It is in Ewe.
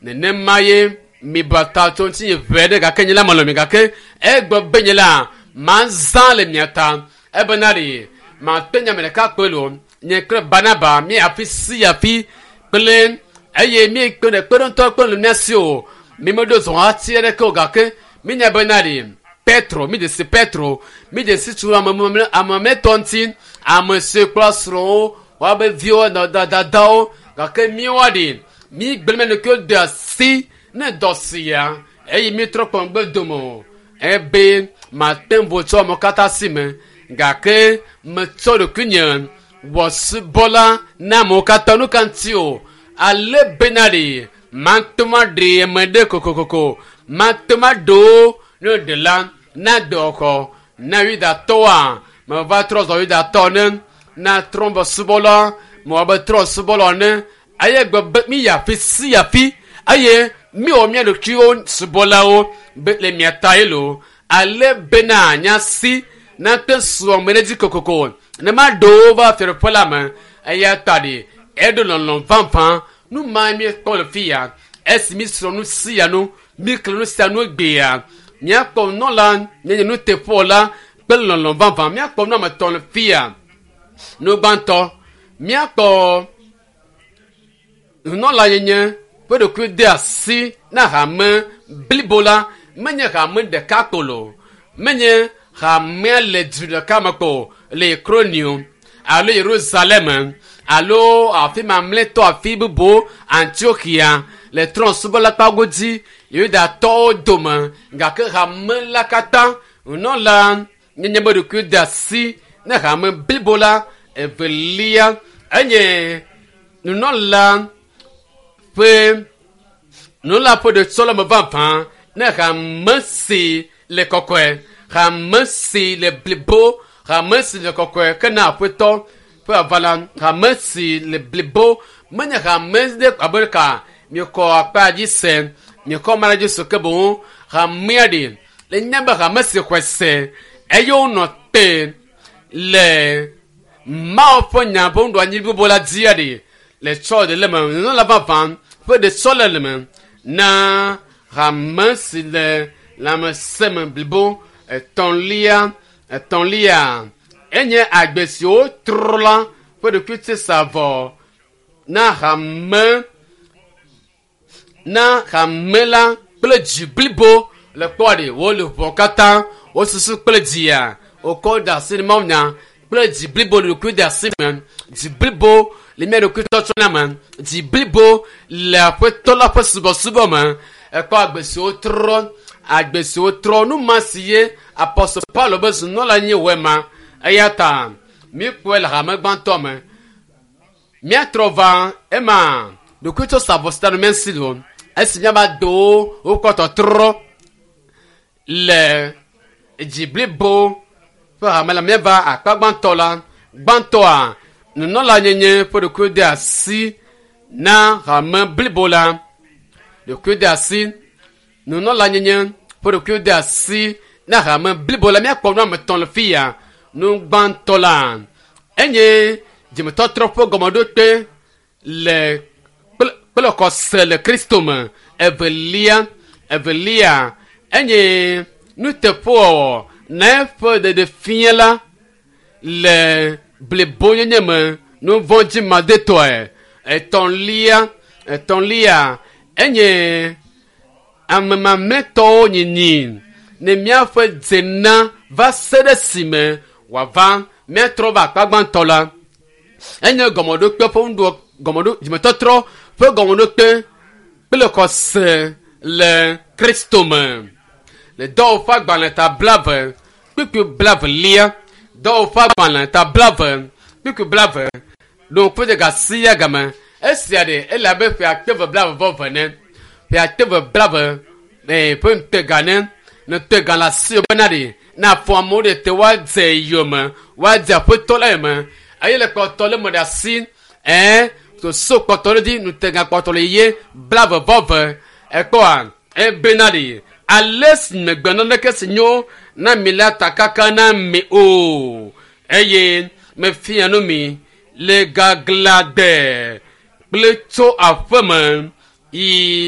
Nenema ye miba ta tso ŋutinye ʋɛ ɖe gake nye la melɔ̃ mi gake egblɔ be nye la mazã le mia ta ebena ɖe mate nya me ɖeka kpe lo nye kple Barnaba mi afi sia afi kple eye mi kpe ɖe kpeɖeŋutɔ kpe le mia si o mi meɖo zɔ hati aɖeke o gake mi nya bena ɖe Petro mi dzesi Petro mi dzesi tso ame mamlɛtɔ ŋuti ame si kple srɔ̃wo woabe viwo dadawo gake miwoa ɖe mi gblẽ mia ɖokuiwo de asi ne dɔ sia eye mi trɔ kpɔ ŋgbe dome o ebe mate ŋu tsɔ amewo katã si me gake metsɔ ɖokuinye wɔ subɔla na amewo katã nu ka ŋuti o ale bena ɖe mate ŋu aɖe ame ɖe kokokoko mate ŋu aɖewo ne ɖe la na dɔxɔ na yudatɔwoa meva trɔ zɔ yudatɔ ne na trɔ be subɔla mewɔ be trɔ subɔla ne eye gbe be mi yi afi sia afi eye mi wɔ mia ɖokuiwo subɔlawo be le mia ta ye lo ale bena nya si nate su ame ɖe dzi kokoko ne ma ɖewo va fiaɖuƒe la me eya ta ɖi eɖo lɔlɔ vavã nu ma mi kpɔ le fi ya esi mi srɔ̃ nu sia nu mi kle nu sia nu gbea míakpɔ nunɔla míenye nuteƒewɔla kple lɔlɔ vavã míakpɔ nu ame etɔ̃ le fi ya nu gbãtɔ míakpɔ nunɔla yenye ƒe ɖokui de asi na hame blibo la menye hame ɖeka ko lo menye hamea le du ɖeka me ko le Kronio alo Yerusalem alo afi mamlɛtɔ afi bubu Antiochia le trɔ̃subɔla kpago dzi Yudatɔwo dome gake hame la katã nunɔla nyenye be ɖokui de asi ne hame blibo la evelia enye nunɔla ƒe nunɔla ƒe ɖetsɔleme vavã ne hame si le kɔkɔe hame si le blibo hame si le kɔkɔe ke na aƒetɔ ƒe avala hame si le blibo menye hame ɖe abe ka miekɔ akpa dzi se miekɔ ma ɖe dzi se ke boŋ hamea ɖe le nya be hame si xɔe se eye wonɔ te le Mawu ƒe nya ƒe nuɖoanyi blibo la dzia ɖe le tsɔ ɖe le me nunɔla vavã ƒe ɖetsɔle le me na hame si le lãmesẽ me blibo etɔ̃lia etɔ̃lia enye agbe si wotrɔ la ƒe ɖokuitsisavɔ na hame na hame la kple dzi blibo le kpɔ ɖe wole ʋɔ katã wosusu kple dzia wokɔ da asi ɖe mawunya kple dzi blibo le ɖokui de asi me dzi blibo le mía ɖokui tsɔtsɔ na me dzi blibo le aƒetɔ la ƒe subɔsubɔ me ekpɔ agbe si wotrɔ agbe si wotrɔ nu ma si ye apɔstol Paulo be zunɔla nye wɔ ma eya ta míkpɔe le hame gbãtɔ me míatrɔ va ema ɖokuitsɔ savɔsita no míasi lo esi míava do wokɔ tɔtrɔ le dzi blibo ƒe hame la míava akpa gbãtɔ la gbãtɔa nunɔla nyenye ƒe ɖokui de asi na hame blibo la ɖokui de asi nunɔla nyenye ƒe ɖokui de asi na hame blibo la míakpɔ nu ame etɔ̃ le fi ya nu gbãtɔ la enye dzimetɔtrɔ ƒe gɔmeɖokpe le kple kple xɔse le Kristo me evelia evelia enye nuteƒewɔwɔ na eƒe ɖeɖefia la le blibonyenye me nuvɔ̃dzimadetɔe etɔ̃lia etɔ̃lia enye ame mamlɛtɔwo nyinyi ne míaƒe dzena va se ɖe esime wòava míatrɔ va akpa gbãtɔ la enye gɔmeɖokpe ƒe nuɖo gɔmeɖo dzimetɔtrɔ ƒe gɔmeɖokpe kple xɔse le Kristo me le dɔwɔƒe agbalẽ ta blave kpukpui blavelia dɔwɔƒe agbalẽ ta blave kpukpui blave ɖo ŋku ɖe ga sia game esia ɖe ele abe ƒe akpe eve blave vɔ eve ne ƒe akpe eve blave ee ƒe ŋutega ne ŋutega le asi bena ɖe na afɔ amewo ɖe te woadze yome woadze aƒetɔ la yome eye le kpɔtɔ le me ɖe asi ɛɛ soso kpɔtɔ ɖe dzi ŋutega kpɔtɔ le yie blave vɔ eve ekpɔa ebena ɖe ale si megbe naneke si nyo na mi la takaka na mi o eye mefia nu mi le gaglãgbe kple tso aƒeme yi.